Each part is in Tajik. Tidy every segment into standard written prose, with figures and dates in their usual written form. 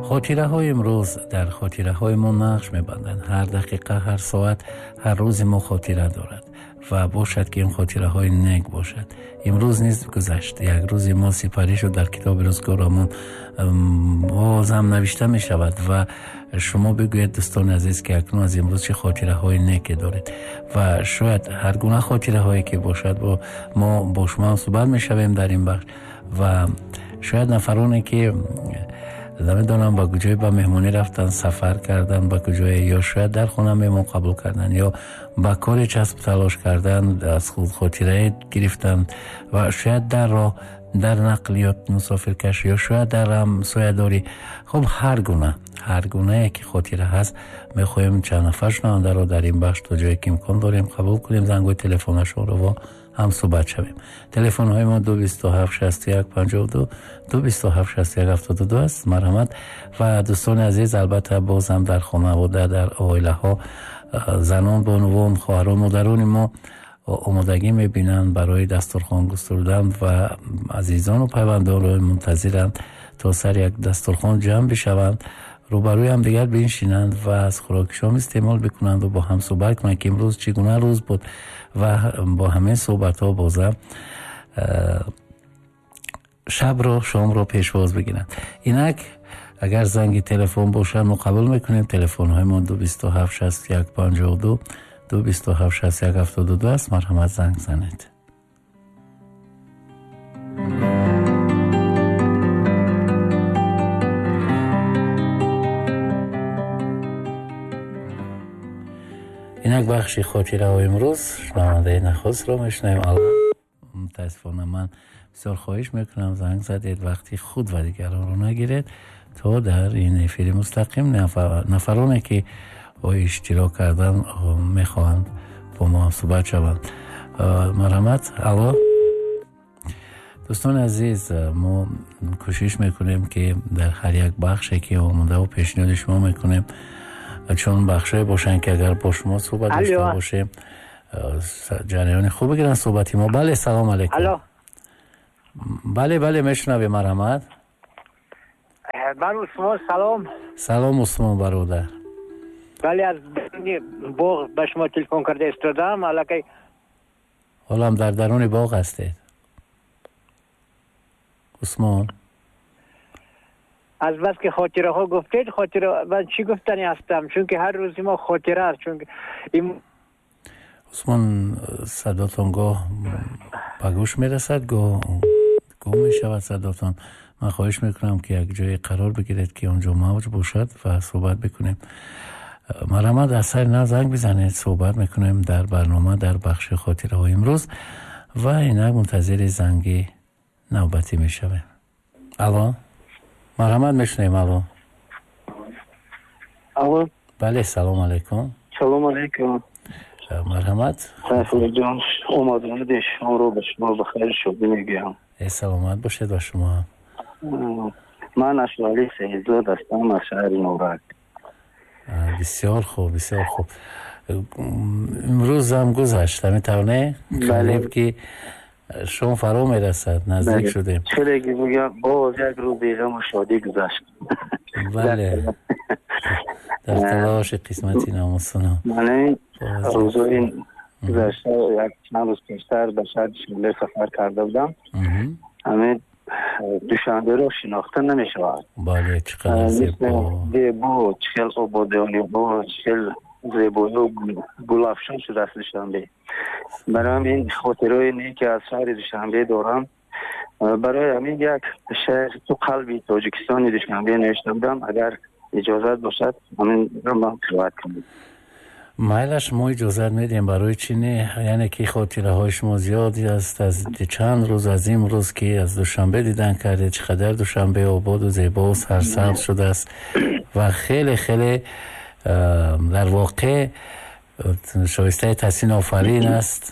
Хотираҳои имрӯз дар хотираҳои мо нақш мебанданд. Ҳар дақиқа, ҳар соат, ҳар рӯзи мо хотира дорад ва бошад ки ин хотираҳои нек бошад. Имрӯз низ гузашт, як рӯзи мо сипарӣ шуд, дар китоби рӯзгорамон боз ҳам навишта мешавад ва шумо бигӯед, дӯстони азиз, ки акнун аз имрӯз чӣ хотираҳои неке доред ва шояд ҳар гуна хотираҳое ки бошад, бо мо бо шумо ҳам суҳбат мешавем дар ин бахш ва шояд нафароне ки намедонам ба куҷое ба меҳмонӣ рафтан, сафар кардан ба куҷое, ё шояд дар хона меҳмон қабул кардан, ё ба кори часп талош кардан, аз худ хотирае гирифтан ва шояд дар роҳ, дар нақлиёт мусофиркаш, ё шояд дар ҳамсоядорӣ. Хуб, ҳар гуна, ҳар гунае ки хотира ҳаст, мехоҳем чанд нафар шунавандаро дар ин бахш то ҷое ки имкон дорем қабул кунем, зангҳои телефонашонро ва ҳам суҳбат шавем. Телефонҳои мо 227 61 52, 227 61 72 аст. Марҳамат. Ва дӯстони азиз, албатта боз ҳам дар хонавода, дар оилаҳо занон, бонувон, хоҳарон, модарони мо омодагӣ мебинанд барои дастурхон густурдан ва азизону пайвандонро мунтазиранд то сари як дастурхон ҷамъ бишаванд, рӯбарӯи ҳамдигар биншинанд ва аз хӯроки шом истеъмол бикунанд ва бо ҳам суҳбат кунанд ки имрӯз чӣ гуна рӯз буд ва бо ҳамин суҳбатҳо бозам шабро, шомро пешвоз бигиранд. Инак агар занги телефон бошад, мо қабул мекунем. Телефонҳои мо 227 61 52, 227 61 72 аст. Марҳамат, занг занед. Инак бахши хотираҳои имрӯз, шунавандаи нахустро мешунавем. Алло. Мутаассифона, ман бисёр хоҳиш мекунам, занг задед, вақти худ ва дигаронро нагиред, то дар ин эфири мустақим нафароне ки бо иштирок кардан мехоҳанд, бо мо ҳам суҳбат шаванд. Марҳамат. Алло. Дӯстони азиз, мо кӯшиш мекунем ки дар ҳар як бахше ки омодаву пешниҳоди шумо мекунем, чун бахшҳое бошанд ки агар бо шумо суҳбат дошта бошем, ҷараёни хуб бигиранд суҳбати мо. Бале, салом алейкум. Бале, бале, мешунавем, марҳамат. Ман Усмон, салом. Салом, Усмон бародар. Бале, аз даруни боғ ба шумо телефон карда истодаам аллакай. Ҳолам дар даруни боғ ҳастед, Усмон? Аз бас ки хотираҳо гуфтед, хотира, ман чӣ гуфтанӣ ҳастам, чунки ҳар рӯзи мо хотира аст, чунки Усмон, садотон гоҳ ба гӯш мерасад, гоҳ гум мешавад садотон. Ман хоҳиш мекунам ки як ҷое қарор бигиред ки он ҷо мавҷ бошад ва суҳбат бикунем. Марҳамат, аз сари нав занг бизанед, суҳбат мекунем дар барнома, дар бахши хотираҳои имрӯз ва инак мунтазири занги навбатӣ мешавем. Алло, марҳамат, мешунавем. Алло. Алло. Бале, салом алейкум. Салом алейкум. Марҳамат. Сайфуллоҷон, омадани шуморо ба шумо ба хайру шодӣ мегӯям. Саломат бошед ва шумо ҳам. Ман Ашрали Саидзод ҳастам аз шаҳри Норак. Бисёр хуб, бисёр хуб. Имрӯзам гузашт, ҳамин тавр, не? Қариб ки шом фаро мерасад, наздик шудем. Хеле мегӯям, боз як рӯзи ғаму шодӣ гузашт. Бале, дар талоши қисмати номусуно. Ман рӯзои гузашта, як чанд рӯз пештар ба шаҳри Душанбе сафар карда будам. Ҳамин Душанберо шинохта намешавад. Бале, чӣ қадар зебо. Зебо, чӣ хел ободониҳо, чӣ хел зебоиҳо, гулафшон шудааст Душанбе. Барои ҳамин хотираҳои неке аз шаҳри Душанбе дорам. Барои ҳамин як шеър ту қалби Тоҷикистони Душанбе навишта будам. Агар иҷозат бошад, ҳаминро ман қироат кунам. Майлаш, мо иҷозат медиҳем, барои чӣ не? Яъне ки хотираҳои шумо зиёд аст аз чанд рӯз, аз имрӯз ки аз Душанбе дидан кардед, чӣ қадар Душанбе ободу зебову сарсабз шудааст ва хеле хеле дар воқеъ шоистаи таҳсин офарин аст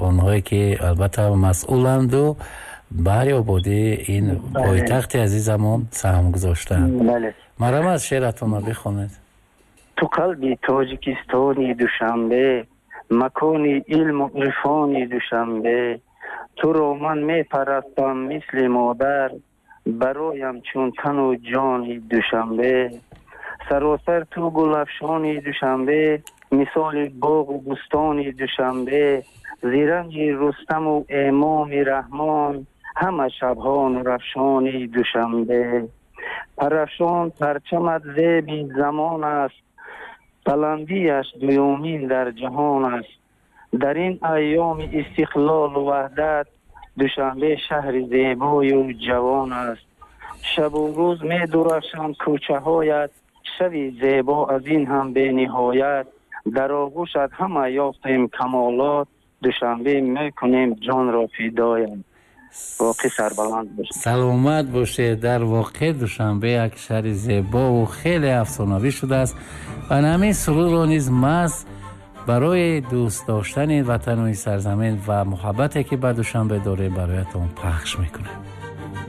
онҳое ки албатта масъуланду баҳри ободии ин пойтахти азизамон саҳм гузоштаанд. Марҳамат, шеъратонро бихонед. Ту қалби Тоҷикистони Душанбе, макони илму ирфони Душанбе, туро ман мепарастам мисли модар, Бароям чун тану ҷони Душанбе, саросар ту гулафшони Душанбе, мисоли боғу бӯстони Душанбе, зиранҷи Рустаму Эмоми Раҳмон, ҳама шабҳо нурафшони Душанбе. Парафшон парчамат зеби замон аст, баландиаш дуюмин дар ҷаҳон аст. Дар ин айёми истиқлолу ваҳдат, Душанбе шаҳри зебою ҷавон аст. Шабу рӯз медурафшанд кӯчаҳоят, шаби зебо аз ин ҳам бениҳоят. Дар оғӯшат ҳама ёфтем камолот, Душанбе мекунем ҷонро фидоям. Воқеъ сарбаланд бошед. Саломат бошед. Дар воқеъ Душанбе як шаҳри зебову хеле афсонавӣ шудааст ва ҳамин сурудро низ маҳз барои дӯст доштани ватану сарзамин ва муҳаббате ки ба Душанбе дорем, бароятон пахш мекунем.